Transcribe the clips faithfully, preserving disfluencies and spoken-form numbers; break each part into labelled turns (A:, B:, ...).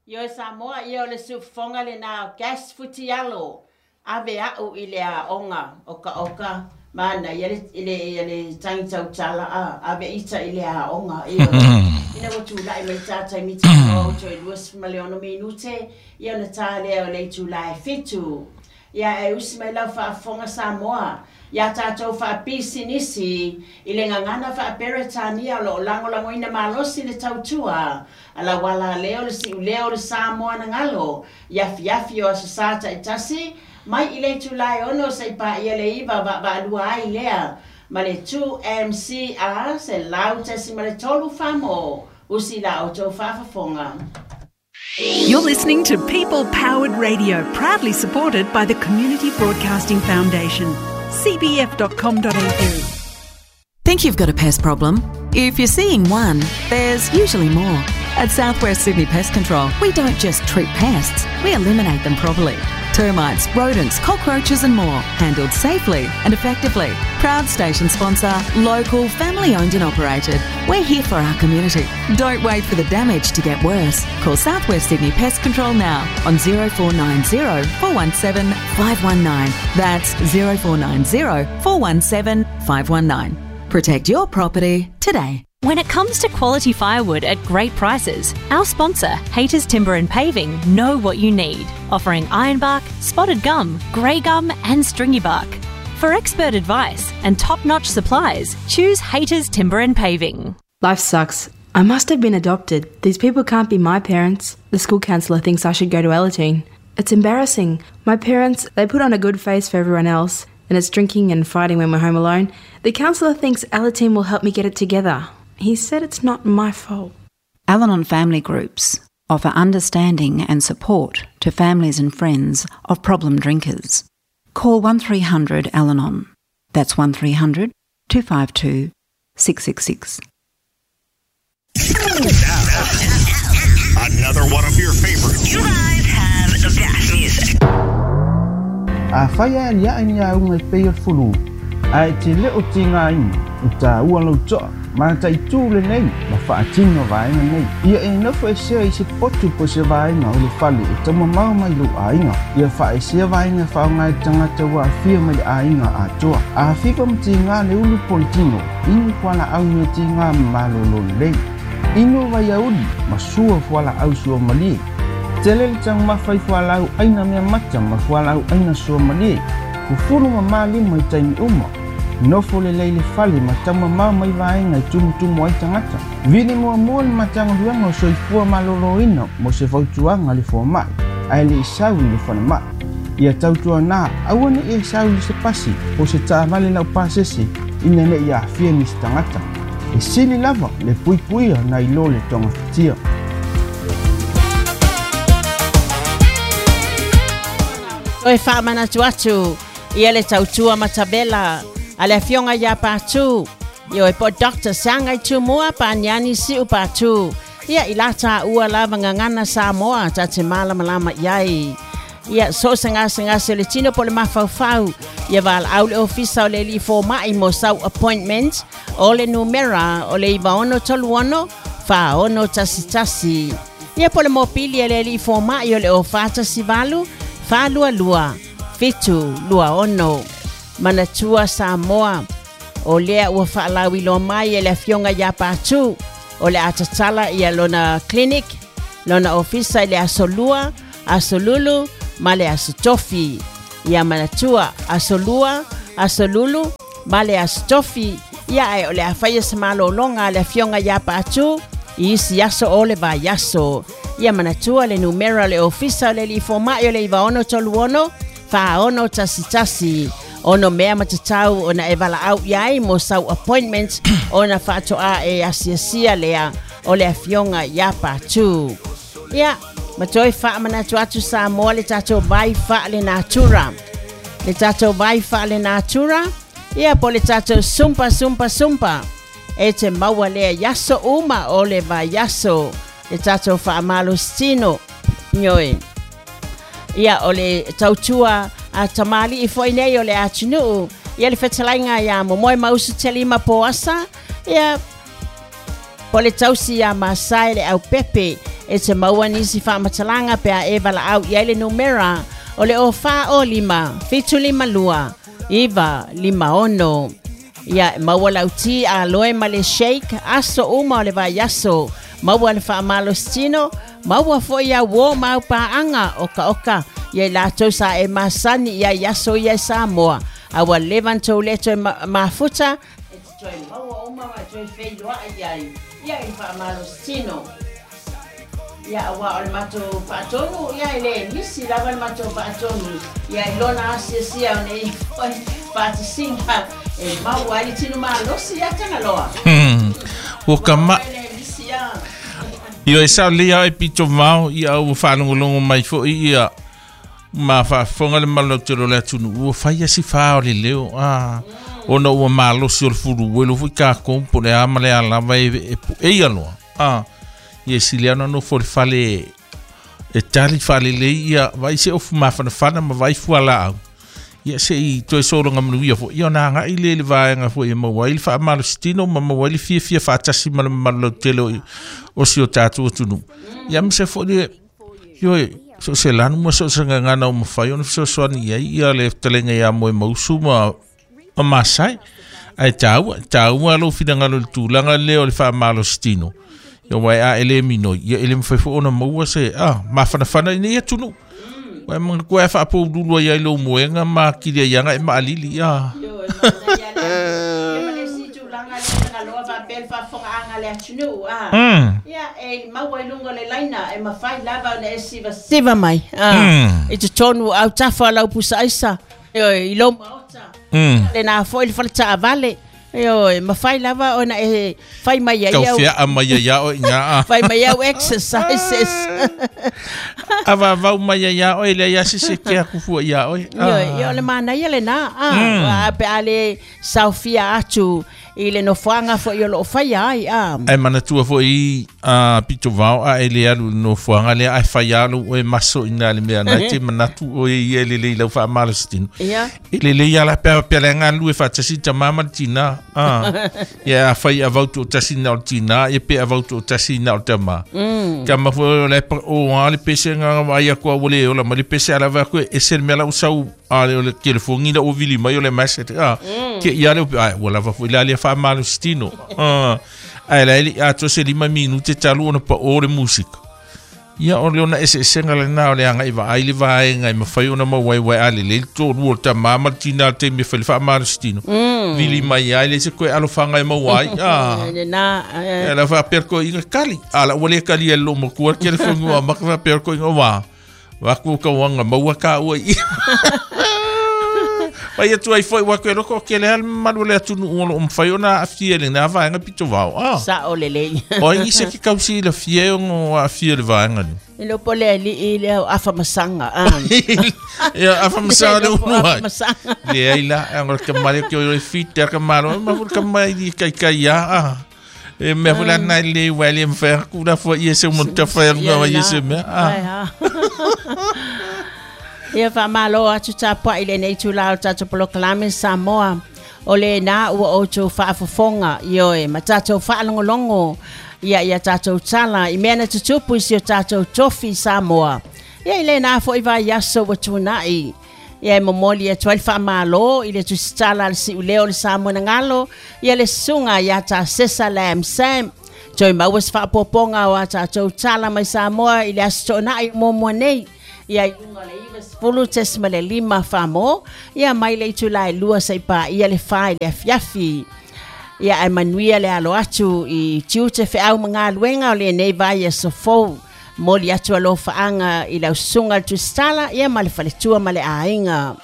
A: Ioe Samoa, ia o le siufofoga lenā o Gas Futialo, ave a'u i le aoga okaoka manaia le, le, le tagi tautala a ave ita i le aoga. Ioe, ina ua tula'i mai tā taimi talanoa ua toe luasefulu ma le ono minute ia ona tā lea o le itulā e fitu. Ia e usi mai lau faafofoga Samoa iā tatou faapisinisi i le gagana faaperetania o loo lagolagoina malosi le tautua a lau alaleo le siuleo o le Samoa na galo i afiafi o aso Sā taitasi mai i le itulā e ono seʻi paia le iva vaavaalua ai lea ma le two M C R selau tasi ma le tolu famo usi la outou faafofoga.
B: You're listening to People Powered Radio, proudly supported by the Community Broadcasting Foundation, c b f dot com dot a u.
C: Think you've got a pest problem? If you're seeing one, there's usually more. At Southwest Sydney Pest Control, we don't just treat pests, we eliminate them properly. Termites, rodents, cockroaches and more, handled safely and effectively. Proud station sponsor, local, family owned and operated. We're here for our community. Don't wait for the damage to get worse. Call Southwest Sydney Pest Control now on zero four nine zero, four one seven, five one nine. That's zero four nine zero, four one seven, five one nine. Protect your property today.
D: When it comes to quality firewood at great prices, our sponsor, Hayters Timber and Paving, know what you need, offering ironbark, spotted gum, grey gum and stringy bark. For expert advice and top-notch supplies, choose Hayters Timber and Paving.
E: Life sucks. I must have been adopted. These people can't be my parents. The school counsellor thinks I should go to Alateen. It's embarrassing. My parents, they put on a good face for everyone else, and it's drinking and fighting when we're home alone. The counsellor thinks Alateen will help me get it together. He said it's not my fault.
F: Al-Anon family groups offer understanding and support to families and friends of problem drinkers. Call one three hundred Al-Anon. That's one three hundred two five two six six six.
G: Now, another one of your favorites.
H: You guys have the best music.
I: A whaia alia ai ni a unga i pei o fulu. A e te leo ti ngā ina, i tā ua lau toa, ma tai tū le nei, ma whaatino vaenga nei. Ia e nofo e sea i se potu po se vaenga o le fale e tama mau mai lo ainga. Ia wha e sea vaenga whaonga e tangata wa awhia mai le ainga a toa. A whiwa mti ngā le ulu politino, inu kuala au mea ti ngā malolo lei. Inu vai auli, ma sua fuala au sua malie. Tele le tang mawhai fuala au aina mea mata ma fuala au aina sua malie. Fufuru ma malima i taimi uma. Nofo le leile fale ma tama mau mai vaenga i tumutumu ai tangata. Vini mua mua le matanga luanga o soifua maloloina mo se fautuanga le fua mai, ae le isau i le fana mai. Ia tautua nā, aua ne i isau i se pasi, po se taavale lau pasese, ina ne i aafia nisi tangata. E sili lava le puipuia na ilo le tonga fitia.
A: Toe whaamanatu atu, ia le tautua matabela, a le afioga ia Patu. Ioe po Doctor Sangai Tumua pa niani siu Patu. Ia i lata ua lava ngangana Samoa ta te malamalama iai. Ia so se ngase ngase le tino po le mafaufau. Ia val au le ofisa o le li fōma'i mo sau appointment o le numera o le iwa ono tolu ono wha ono tasi tasi. Ia po le mopili e le li fōma'i o le o whātasi valu whālua lua fitu lua ono. Manatua Samoa o lea ua whaalawilo mai e le afioga ia Patu o le atatala ia lona clinic lona ofisa i le aso lua, aso lulu ma le aso tofi. Ia manatua aso lua, aso lulu ma le aso tofi. Ia e o le awhaia sa malolonga le afioga ia Patu i isi aso o le vai aso. Ia manatua le numera le ofisa o le lifomai o le iwa ono tolu ono wha ono tasi tasi. Ono mea matatau ona e wala au iai mo sau appointment ona whaatoa e asiasia lea o le afioga ia Patu. Ia, matoi whaamanatu atu Samoa le tātou vai wha le natura. Le tātou vai wha le natura, ia po le tātou sumpa sumpa sumpa. E te maua lea yaso uma o le vai yaso. Le tātou whaamalostino. Nyoi. Ia o le tautua a tamali i foi nei o le atunuu. Ia le whetalainga ia momoe mausu te lima poasa. Ia po le tausi ia Masai le au pepe. E te maua nisi faamatalaga pe a e valaau i ai le numera o le o fa o lima, fitu lima lua, iwa lima ono. Ia maua lauti a loe ma le shake, aso uma o le vai aso. Maua le faamalositino, maua foi ia uo mau paanga oka oka. Ia i latou sa e masani ia i aso ia i Samoa. Aua levan tou le toe mafuta, e te toe maua uma ma toe feiloa ia i ia i faamalositino. Ia aua o le matou faatonu, ia e le misi lava le matou faatonu. Ia i lona asiasia o nei foi faatasiga e maua ai le tino malosi ia Tagaloa.
J: Ua ka ma... Io e sao lea e pito mao ia ua whaalongolongo mai fo ia ma whaafonga le malo te lo le atunu ua whai asi wha o le leo ah ona ua malosi o le furu welo fui ka kompo le ama le alava e e e ia loa ah ia sile ana no fo le fale e tali fale le ia vai se ofu mafanafana ma vai fua au ia se i toe solo nga manu ia fo ia na nga ile le vaenga fo ia maua i le faamalositino ma maua i le fiafia faatasi ma le mamalu lautele o o si o tatou atunuu ia ma se foʻi le ioe so se lanu ma so se gagana o mafai ona fesoasoani i ai ia le fetalaiga iā Moemausu ma ma Masai ae taua taua lou finagalo i le tulaga lea o le faamalositino ia uae a e lē minoi ia e lē mafai foʻi ona maua se a mafanafana ina ia atunuu. Wai mga kua e whaapaululu ai ai lo moenga ma kiri ai anga e maalili ia.
A: Yo, e mana ia le. Ia ma si tulaga le Tagaloa faapea le faafogaaga le atunuu a. Ia e maua i luga o le laina e mafai lava ona e sivasiva mai a. I totonu au tafa lau pusaaisa i lou maota. Lena foʻi le faletaavale. Io, mafai lava ona e fai mai ai
J: au. Tau fia mai ai o ina.
A: Fai mai au exercises.
J: Ava vau mai ai o le ia se se ke aku fua ia o.
A: Io, io le mana ia le na. Ah, pe ale saufia atu i le nofoaga foi o loo faia ai a.
J: Ai manatua foi a pito vao a ele alu nofoaga lea ai fai alu e maso ina le mea nai te manatu o ia le le lau faamalositino.
A: Ia.
J: E lelei ala pea pea le galu e faatasi tamā ma le tinā. Ah. Ia a fai avau toatasi na o le tinā ia pe avau toatasi na o le tamā. Ka mafua o le o a le pese nganga vai aku a ua le ola ma le pese alava aku e ese le mea lau sau a le o le telefongi la o vili mai o le message a ke ia le ai ua lava foi la le faamalositino. Ah. Ai la ili a to se lima minute talu ona pa o le musika. Ia o le ona eseesega lenā o le agaʻi vaai le vaega e mafai ona mauaiuai a lelei le tolu o le tamā ma le tinā le taimi e fai le faamalositino vili mai ai le se koe alofaga e maua ai a
A: lena
J: la faapea le koeʻiga kali a la ua lē kali ai le loo matua le telefoni ua maka faapea le koeʻiga wā waku kauaga maua kāua i Vai atu ai foi wa koe loko ke le al malu le atunuu o loo mafai ona aafia lenā vaega pito vao ah.
A: Sa o lelei.
J: O ai se ke kausi le fie o aafia le vaega ni.
A: E lo pole ali i le afamasaga ah.
J: Ia afamasaga le unu ai. Le ai la ang ka male ke o le fit ka malo ma fu ka mai di kai kai ya ah. E mea fu la nai le wale mfa ku la fo ia se mo ta fa nga ia se mea ah.
A: Ia whaamalo atu tāpua i lenei tūla o tātou polokalame Samoa. O le nā ua o tō whaafofonga ioe, ma tātou whaalongolongo ia ia tātou tala i mea na tutupu i si o tātou tofi Samoa. Ia i le nā fo i vai aso wa tūnai. Ia e momoli e tuai whaamalo i le tusitala le siuleo le Samoa nangalo. Ia le sunga ia tā sesa lam sam. Toi maua se whaapoponga o a tātou tala mai Samoa i le aso tōnai mōmua nei. Ia i lunga le iwa sefulu tesima le lima whamo, ia mai le itu lai lua seipa ia le whai le afiafi. Ia ai manuia le alo atu i tiute wheau mga luenga o le nei vai e sofou. Moli atu alo whaanga i lau sunga le tusitala, ia ma le faletua ma le ainga.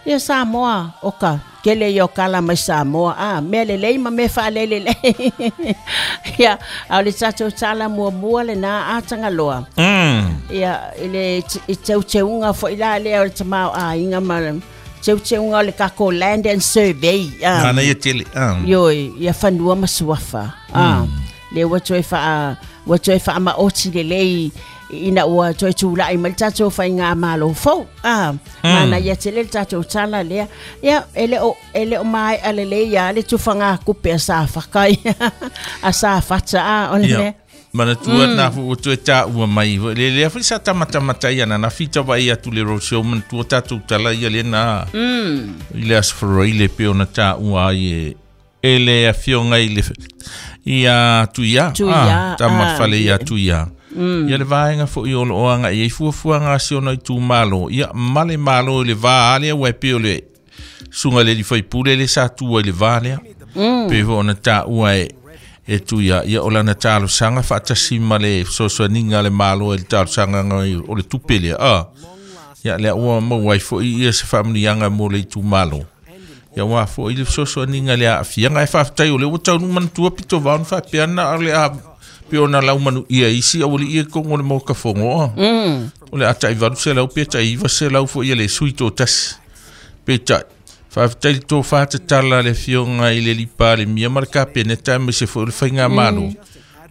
A: Ia Samoa, oka, kele i o kala mai Samoa. Ah, mea le lei ma mea whaalele lei. Ia, au le tātou tala mua mua le nā ātangaloa.
J: Mm.
A: Ia, i le i teuteunga fo i la lea o le tamau a inga ma teuteunga o le kako Land and Survey.
J: Ah. Nana ia tele. Ah.
A: Ioi, ia whanua masuafa. Ah. Mm. Le ua toe wha, ua toe wha maoti le lei ina ua toe tūlai mai le tātou whai ngā malo fou. Ah, mm. Mana ia tele le tātou tala lea. Ia, ele o, ele o mai ale le ia, le tuwhanga kupe a sa whakai. A sa whata a, o le mea.
J: Manatua mm. na fu toe ta ua mai le le foi sa tamatamata ia na fita vai atu le roadshow manatua tatou tala ia le na
A: mm.
J: I le asfroi le pe ona ta ua ai e le afioga i le ia tuia
A: ah,
J: tamafale ia tuia mm. Ia le vaega foi o lo anga ia fuafuaga a si ona itumalo ia male malo i le va ale ua e pei o le suga le lifaipule le sa tua i le va lea
A: mm.
J: Pe foi ona taua e e tuia ia o lana talosaga faatasi ma le fesoasoaniga a le malo i le talosagaga o le tupe lea a ia lea ua maua ai foi ia se faamanuiaga mo le itumalo ia ua foi le fesoasoaniga le aafiaga e faafetai o le ua taunuu manatua pito vao na faapea na o le a pe ona laumanu ia isi auali'i e kogo le mokafogoa o le a ta'ivalu selau pe ta'iiva selau fo'i ia le sui totasi peitai faafetai le tofa tatala le afioga i le Palemia ma le Kapeneta aemaise foi o le faigamalo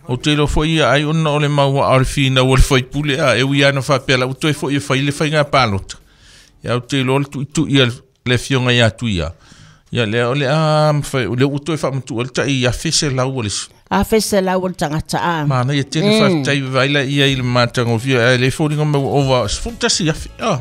J: o te iloa foi ia ai ona o le maua'a o le finau o le faipule a e ui ana faapea la ua toe fo'i e fai le faiga palota ia o te iloa le tu'itu'i a le afioga ia Tuia ia lea o le a mafai o le ua toe faamatu'a le ta'i afe selau o le
A: afe selau o le tagata a
J: mana ia tele faafetai vaai la ia i le matagofie ae le foliga mai ua ova sefulu tasi afe a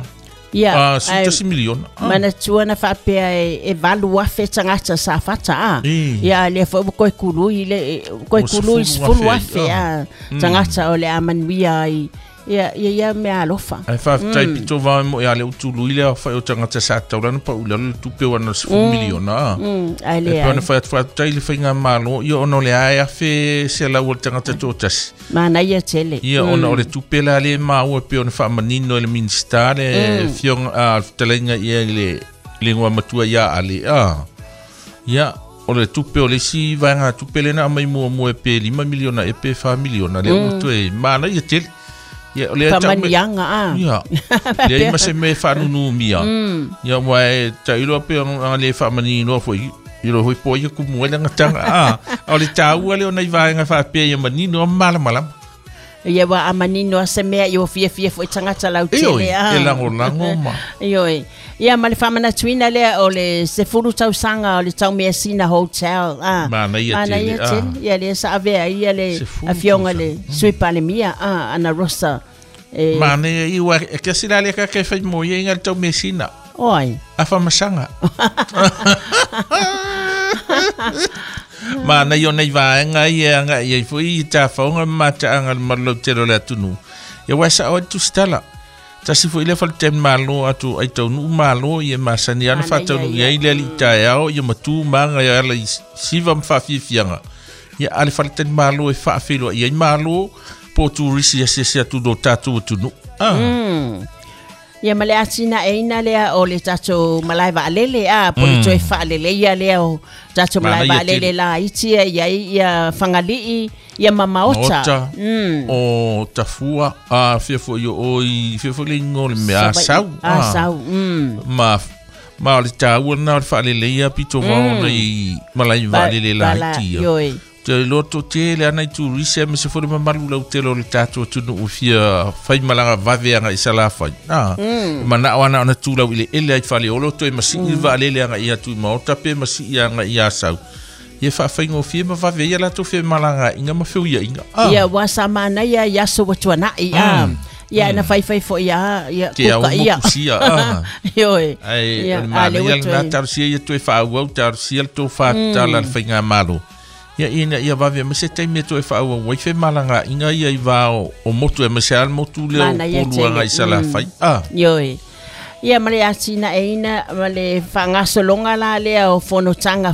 A: Ia,
J: ah, sefulu tasi miliona. Ah.
A: Manatua na faapea e, e valu afe tagata sa fata a. Ia lea foi ua koe kului le koe kului sefulu afe a tagata o le a manuia ai. Ia ia ia mea alofa.
J: Ai faafetai pito vao mo ia le utului le fai o tagata sa taulana pa ula le tupe o ana sefulu miliona.
A: Mm, ai le.
J: E pe ona fai atu faafetai le faigamalo ia ona o le ae afe selau o le tagata totasi.
A: Manaia tele.
J: Ia ona o le tupe la le maua pe ona faamanino e le Minista le afioga a fetalaiga ia i le le igoa matua ia Ale a. Ia o le tupe o le isi vaega tupe lena aumai muamua e pe lima miliona e pe fa miliona le ua toe manaia tele. Ia o le
A: faamaniaga a.
J: Ia leai ma se mea e faanunumia ia ua e ta'iloa pe ona le faamaninoa fo'i i lo foi po ia kumu ai lagataga a o le tāua le ona i vaega faapea ia manino a malamalama
A: ia ua amanino a se mea i ua fiafia fo'i tagata lautele a
J: e lagolago ma
A: ioe ia ma le faamanatuina lea o le sefulu tausaga o le Taumeasina Hotel a
J: manaia tele
A: a ia lea sa avea ia le afioga le Sui Palemia a Ana Rosa e
J: manaia i ua e kasi la le kake fai mo ia inga le Taumeasina
A: oi
J: afamasaga mana ia nei vaega ia aga ia foi i tafaoga ma mata'aga le malolautele o le atunuu ia ua sa'o ai le tusitala tasi foi lea faletali malo atu ai taunuu malo ia masani ana faataunuu i ai le ali'i taeao ia matū maga ia ala i siva ma faafiafiaga ia a le faletali malo e faafeiloa'i ai malo po o turisi asiasi atu lo tatou atunuu ah.
A: Mm. Ia ma le atinaeina lea o le tatou malae vaalele a po le toe faaleleia lea o tatou malae vaalele laiti ia i ai ia Fagali'i ia ma Maota. Mm.
J: O Tafua a fia foi o i fia foi le igoa o le mea Asau.
A: Asau. Mm.
J: Ma ma o le taua lena o le faaleleia pito vao ona i malae vaalele laiti ia.
A: Ioe.
J: Te loto tele ana i turisi aemaise foi le mamalu lautele o le tatou atunuu fia faimalaga vave aga i Salafai. Ah, mana'o ana ona tulau i le ele ai Faleolo toe masi'i vaalele aga i atu i Maota pe masi'i aga i Asau. Ia faafaigofie ma vave ia latou femalaga'iga ma feuia'iga. Ah.
A: Ia ua sa manaia i aso ua tuana'i a. Ia na faifai fo'i a ia kuka ia.
J: Te au mokusia a.
A: Ioe.
J: Ai o le manaia lena talosia ia toe faaauau talosia le tofa tatala a le faigamalo. Ia ina ia vave ma se taimi e toe faaauau ai femalaga'iga ia i va o, o motu aemaise a le motu lea o Upolu aga i Salafai. Ah.
A: Ioe. Ia ma le atinaeina ma le faagasologa la lea o fonotaga